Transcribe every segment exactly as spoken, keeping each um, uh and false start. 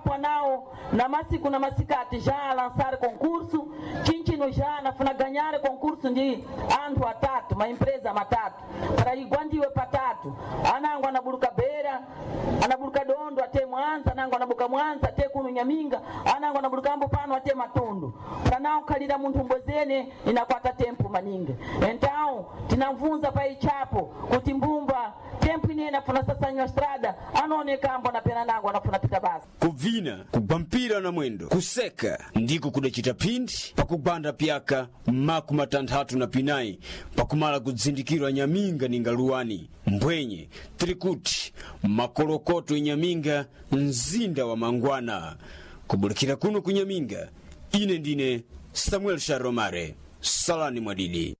Chapo nao na masiku na masikati já lançar concurso, chinchino já nafuna ganhar concurso ndi anthu atatu, maempresa matatu para igwandiwe patatu, anango anabuluka Beira, anabuluka Dondo ate Mwanza, anango anabuka Mwanza ate kuno Nyaminga, anango anabuluka ambo pano ate Matundu. Para nao kalira munthu mbwezene inakwata tempo maningi. Então tinamvunza pa ichapo kuti mbumba tempo inene afuna sasanywa estrada anaoneka ambo anapena nango anafuna pita basi. Kubvina, kugwa mpira na mwendo, kuseka ndiko kudacita phindi pakugwanda pyaka makumi matanthatu na pinayi pakumala kudzindikirwa Nyaminga ninga luwani mbwenye tiri kuti makolokoto Nyaminga, mzinda wa mangwana. Kubulikira kuno ku Nyaminga, ine ndine Samuel Sharomare, salani mwadidi.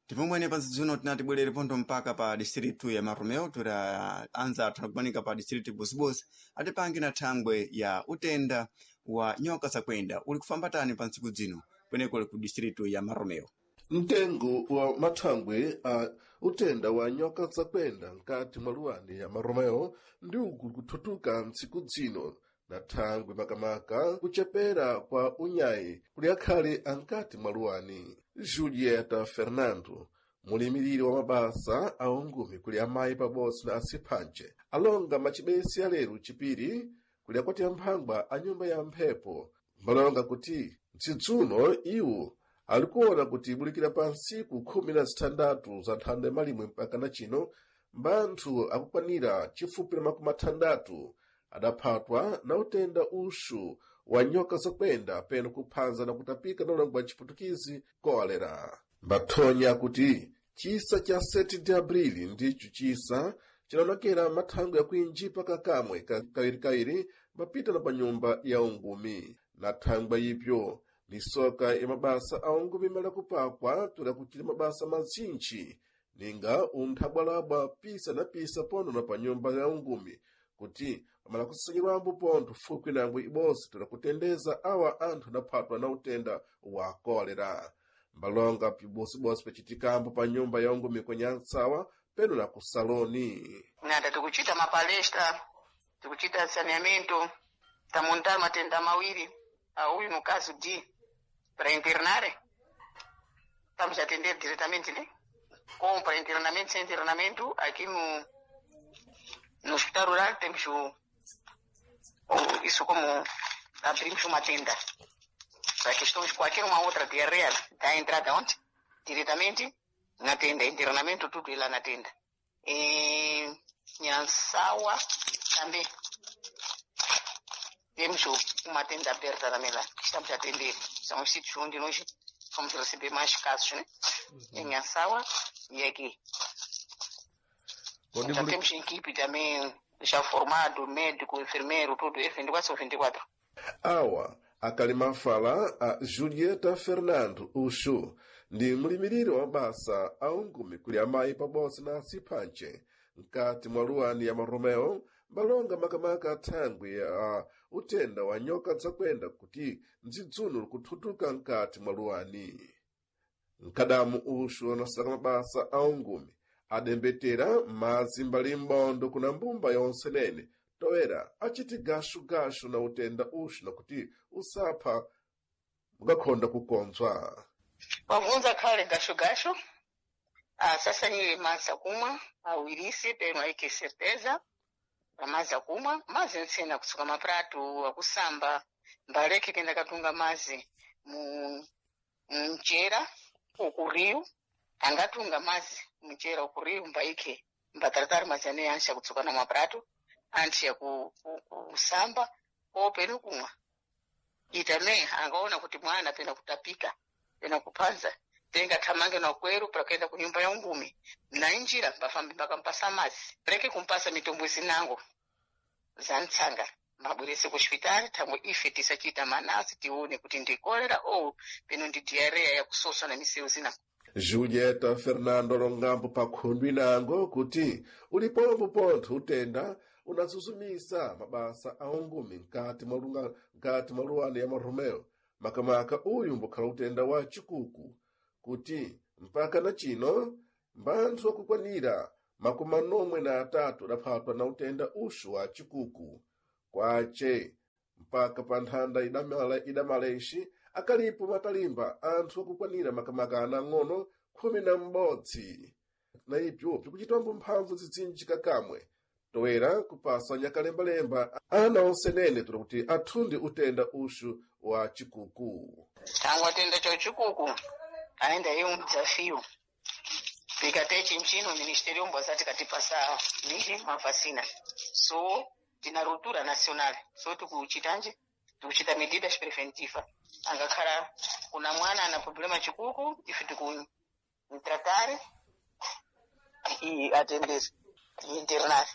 Tipomwene pa zidzuno tinati bwerere pontho mpaka pa distritu ya Maromeo, tira anza athu anakumanika pa distritu ibozibodzi atipange na thangwe ya utenda wa nyoka zakwenda uli kufambatani pa ntsiku dzino kweneko uli ku distritu ya Maromeo. Mtengo wa mathangwe a utenda wa nyoka zakwenda nkati mwa luwani ya Maromeo ndi uku kuthutuka ntsiku dzino na thangwe makamaka kuchepera kwa unyayi kuli akhale ankati mwa luwani. Julieta Fernando, mulimiriri wa mabasa a ungumi kuli amayi pabodzi na asiphance, alonga macibesi alero chipiri kuli akwati amphangwa a nyumba ya mphepo, mbalonga kuti mtsidzuno iwo alikuona kuti ibulikira pa ntsiku khumi na zithandatu za nthanda ya malimwe mpaka na chino mbanthu akukwanira chifupi na makumi athandatu adaphatwa na utenda uxu wa nyoka zakwenda peno kuphanza na kutapika na ulango wa chiputukizi kolera. Mbathonya kuti chisa cha sete de abrili ndicho chisa chinaonekera mathangwe yakuinjipa kakamwe ka- kawirikawiri mapita na pa nyumba ya ungumi. Na thangwe ipyo misoka ya mabasa a ungumi mala kupakwa tula kuchita mabasa mazintchi ninga unthabwalabwa pisa na pisa pono na pa nyumba ya ungumi kuti pamala kusanyirwambo pontho fupi nangwe ibodzi tola kutendeza awa anthu adaphatwa na utenda wa kolera. Mbalonga pibosibodzi pacitikambo pa nyumba ya ungumi kwenyantsawa peno na ku saloni. Nada, tikuchita mapalestra, tikuchita saneamento, tamontar matenda mawiri, a uyu no caso de para internare, estamos a atender diretamente, né? Com para internamento, sem internamento, aqui no, no hospital rural temos o, o- isso como abrimos uma tenda. Para questões, qualquer uma outra diarreia, dá entrada onde? Diretamente na tenda, internamento, tudo lá na tenda. Em Nhansawa também temos o- uma tenda aberta também lá, que estamos a atender. São os sítios onde nós vamos receber mais casos, né? Em Nhansawa e aqui. Kodi Já muli- temos equipe também já formado, médico, enfermeiro, tudo, é vinte e quatro sobre vinte e quatro. Awa akali mafala a Julieta Fernando uxu ndi mlimiriri wa mabasa a ungumi kuli amayi pabodzi na asiphance mkati mwa luwani ya Maromeo, mbalonga makamaka athangwi a utenda wa nyoka zakwenda kuti mdzidzuno likuthutuka mkati mwa luwani. Mkadamu uxu anasaka mabasa a ungumi adembetera madzi mbali m'bondo kuna mbumba yonse nene toera aciti gashugashu na utenda uxu nakuti usapha mukakhonda kukonzwa. Wabvunza khale gasho gasho. Ah, sasa ni maza kumwa awirisi peno aike certeza amazi akumwa, mazi ntsena kusuka maprato, akusamba, mbaleke kenda katunga mazi mu mchera ukuriu, angatunga mazi mchera ukuriu, mbaike mbataratari mazi ane ansha kutsuka na maprato anti ya ku, ku, kusamba o peno kumwa. Itame angaona kuti mwana pena kutapika pena kupanza, tenga thamange na kweru para kuenda ku nyumba ya ungumi na injira mbafambi mbakampasa mazi, reke kumpasa mitombo zinango za ntsanga, mabwerese ku hospitali thangwe ife tisachita manasi tione kuti ndi kolera ou peno ndi diarrea yakusosa na misewu zina. Julieta Fernando longambo pa khundwi nango kuti ulipombo pontho utenda unazuzumisa mabasa a ungumi mkati mwa lunga- mkati mwa luwani ya Maromeo, makamaka uyu mbukhala utenda wa chikuku kuti mpaka na chino mbanthu akukwanira makumi anomwe na atatu adaphatwa na utenda uxu wa chikuku kwace. Mpaka pa nthanda idamala, idamala ixi akalipo matalimba anthu akukwanira makamaka ana ang'ono khumi na m'bodzi na ibyo bikuchitwambo mphamvu zidzinji kakamwe toera kupasa nyakalembalemba ana onsenene tuli kuti athundi utenda uxu wa chikuku. Tangu atenda cho chikuku aenda iye um desafio tikate chinchino ministerio mbwazati katipasa miji mavacina, so tina ruptura nacional, so tikuchitanje tikuchita medidas preventiva. Angakhala kuna mwana ana problema chikuku, ife tikumtratare e atender internar.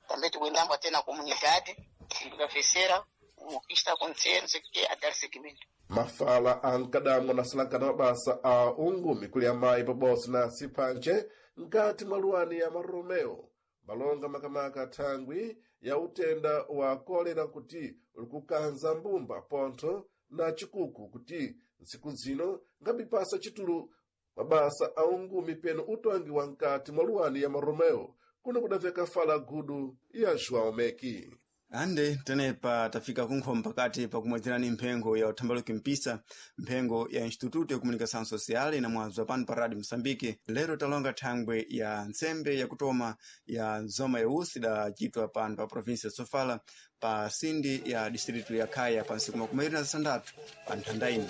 Também tikuendambo tena comunidade tikafesera o que está acontecendo, sei que a dar seguimento. Mafala ankadamwa na silankana mabasa a ungumi kuli amayi pabodzi na siphanche nkati mwa luwani ya Maromeo malonga makamaka thangwi ya utenda wa kolera kuti likukanza mbumba pontho na chikuku kuti ntsiku zino ngabipasa chitulu mabasa a ungumi peno utongi wa nkati mwa luwani ya Maromeo kuno kudaveka fala gudu ya João Meki. Ande tenepa tafika kunkho pakati pakumwedzerani mphengo ya uthambaluki mpisa, mphengo ya Instituto ya Comunicação Social inamwazwa pano pa Radio Moçambique. Lero talonga thangwe ya ntsembe yakutoma ya nzoma yausi idacitwa pano pa província ya Sofala pa sindi ya distrito ya Khaya pa ntsiku makumi awiri na zisandatu pa nthanda ino.